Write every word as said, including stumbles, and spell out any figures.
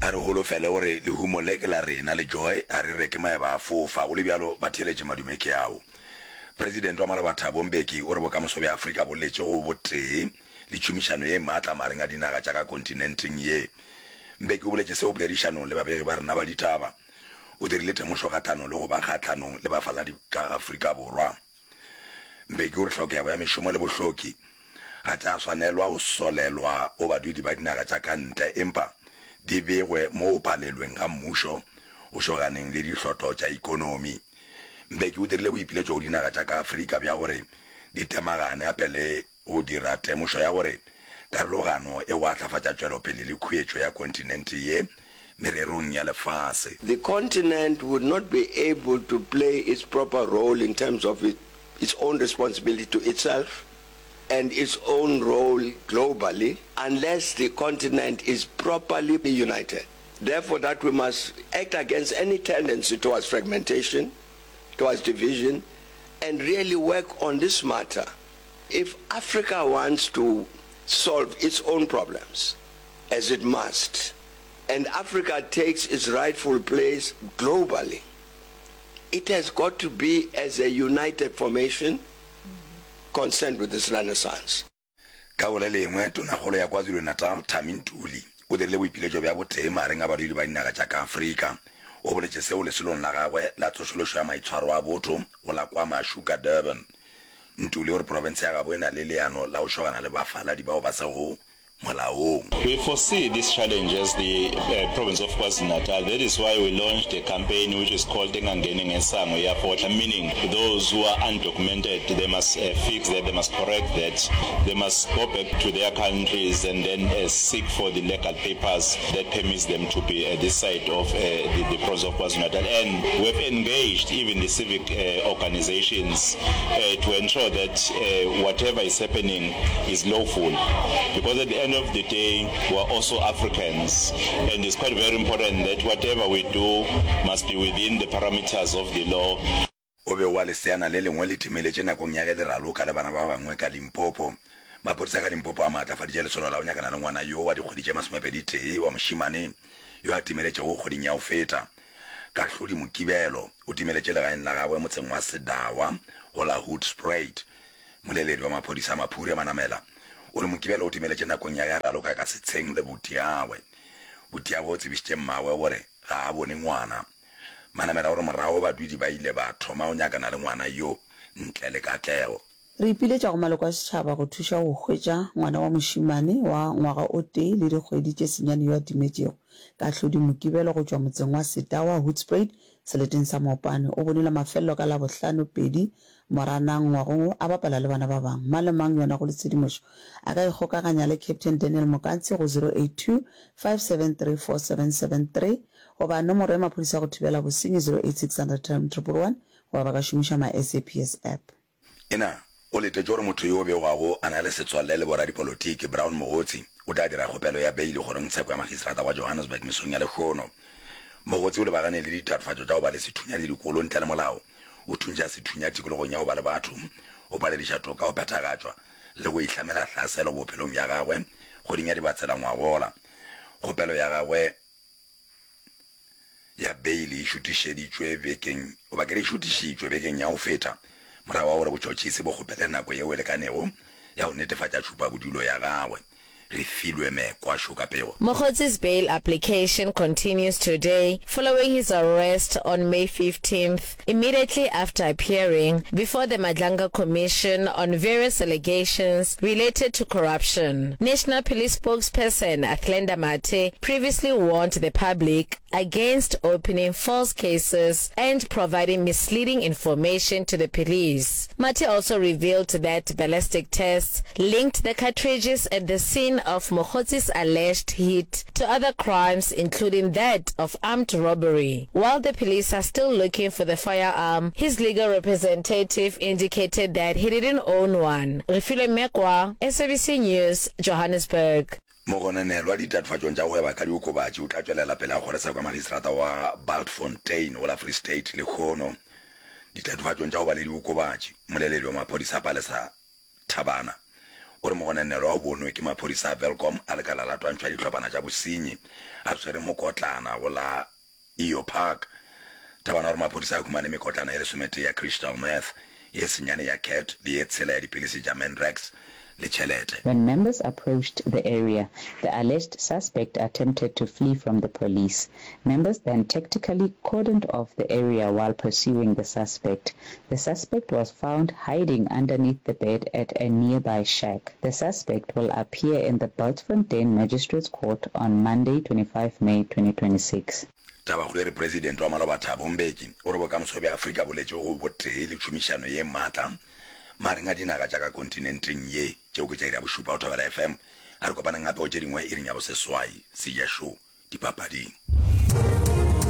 A re holofele gore lehumo le ke la rena le Joy, a re reke maeba a fofa. Go le bjalo, batheeletše madume ke ao. Presidente wa maloba Thabo Mbeki o re bokamoso bja Afrika bo letše go botee le tšhomišano ye maatla magareng a dinaga tša ka kontinenteng ye. Mbeki o boletše seo poledišanong le babegi ba rena ba ditaba. O dirile temošo kgahlanong le go ba kgahlanong le bafaladi ka Afrika Borwa. Mbeki o re hlokego ya mešomo le bohloki ga tša swanelwa go solelwa go badudi ba dinaga tša ka ntle empa di begwe mo go palelweng ga mmušo go šoganeng le dihlotlo tša ikonomi. Mbeki o dirile boipiletšo go dinaga tša ka Afrika bja gore di temagane gape le go dira temošo ya gore karologano e go ahlafatša tšwelopele le khuetšo ya kontinente ye mererong ya lefase. The continent would not be able to play its proper role in terms of it, its own responsibility to itself and its own role globally unless the continent is properly united. Therefore, that we must act against any tendency towards fragmentation, towards division, and really work on this matter. If Africa wants to solve its own problems, as it must, and Africa takes its rightful place globally, it has got to be as a united formation concerned with this renaissance. Ka go le lengwe, Tonakgolo ya KwaZulu-Natal, Thami Ntuli, o dirile boipiletšo bja botee magareng a badudi ba dinaga tša ka Afrika. O boletše seo lesolong la gagwe la tsošološo ya maitshwaro a botho go la KwaMashu ka Durban. Ntuli o re profense ya gabo e na le leano la go šogana le bafaladi bao ba sego molaong. We foresee this challenge as the uh, province of KwaZulu-Natal. That is why we launched a campaign which is called Engangeni Ngesango Iyafohla, meaning those who are undocumented, they must uh, fix that, they must correct that, they must go back to their countries and then uh, seek for the legal papers that permits them to be at this side of uh, the, the province of KwaZulu-Natal. And we've engaged even the civic uh, organizations uh, to ensure that uh, whatever is happening is lawful. Because at the end of the day, we are also Africans, and it's quite very important that whatever we do must be within the parameters of the law. O be wa leseana le lengwe le timeletše nakong ya ge le raloka le bana ba bangwe ka Limpopo. Maphodisa ka Limpopo a maatlafaditše lesolo la go nyakana le ngwana yo wa dikgwedi tše masomepedi tee wa mošemane yo a timeletšego kgweding ya go feta. Kahlodi Mokibelo o timeletše legaeng la gagwe motseng wa Sedawa go la Hoedspruit. Moleledi wa maphodisa Maphure Manamela o re Mokibelo o timeletše nakong ya ge a raloka ka setsheng le butiagwe. Butiagwe o tsebišitše mmagwe gore ga a bone ngwana. Manamela o re morago badudi ba ile ba thoma go nyakana le ngwana yo ntle le katlego. Re ipiletša go maloko a setšhaba go thuša go hwetša ngwana wa mošemane wa ngwaga o tee le dikgwedi tše senyane yo a timetšego. Kahlodi Mokibelo go tšwa motseng wa Setawa, Hoedspruit, seleteng sa Mopane, o bonwe la mafelelo ka Labohlano pedi Moranang ngwageng wo a bapala le bana ba bangwe. Mang le mang yo a nago le tshedimošo a ka ikgokaganya le Captain Daniel Mokantsi go zero eight two, five seven three, four seven seven three goba nomoro ya maphodisa go thibela bosenyi zero eight six hundred triple one goba ba ka šomiša my S A P S app. Ena o letetše gore motho yo begwago a na le setswalle le boradipolotiki, Brown Mogotsi, o tla dira kgopelo ya beili kgorongtsheko ya magistrata wa Johannesburg mesong ya lehono. Mogotsi o lebagane le ditatofatšo tša go ba le sethunya le dikolo ntle le molao, o thuntšha sethunya tikologong ya go ba le batho, o palediša toka go phethagatšwa le go ihlamela hlaselo bophelong bja gagwe kgweding ya Dibatsela ngwagola. Kgopelo ya gagwe ya beili e šutišeditšwe bekeng goba ke re e šutišitšwe bekeng ya go feta morago ga gore botšhotšhisi bo kgopele nako yeo e lekanego ya go netefatša tšhupabodulo ya gagwe. Refilwe Mekwa šo ka pego. Mogotsi's bail application continues today following his arrest on May fifteenth immediately after appearing before the Madlanga Commission on various allegations related to corruption. National Police spokesperson Athlenda Mathe previously warned the public against opening false cases and providing misleading information to the police. Mathe also revealed that ballistic tests linked the cartridges at the scene of Mogotsi's alleged hit to other crimes, including that of armed robbery. While the police are still looking for the firearm, his legal representative indicated that he didn't own one. Refilwe Mekwa, S A B C News, Johannesburg. Mogononelwa ditatofatšong tša go gweba ka diokobatši o tla tšwelela pele ga kgorotsheko ya magistrata wa Bultfontein go la Free State lehono ditatofatšong tša go ba le diokobatši. Mmoleledi wa maphodisa Palesa Thabana o re mogononelwa o bonwe ke maphodisa a Welkom a lekala la twantšho ya dihlopana tša bosenyi a swere mokotlana go la Eyo Park. Thabana o re maphodisa a humane mekotlana ye lesometee ya crystal meth, ye senyane ya cat le ye tshela ya dipilisi tša Mandrax le tšhelete. When members approached the area, the alleged suspect attempted to flee from the police. Members then tactically cordoned off the area while pursuing the suspect. The suspect was found hiding underneath the bed at a nearby shack. The suspect will appear in the Bultfontein Magistrates Court on Monday, twenty-five May twenty twenty-six. Tabakgolo e re Presidente wa maloba Thabo Mbeki o re bokamoso bja Afrika bo letše go botee le tšhomišano ye maatla magareng a dinaga tša ka kontinenteng ye. Tšeo ke tša iri ya bošupa go Thobela F M. A re kopaneng gape go tše dingwe iring ya boseswai. Seja Show dipapading.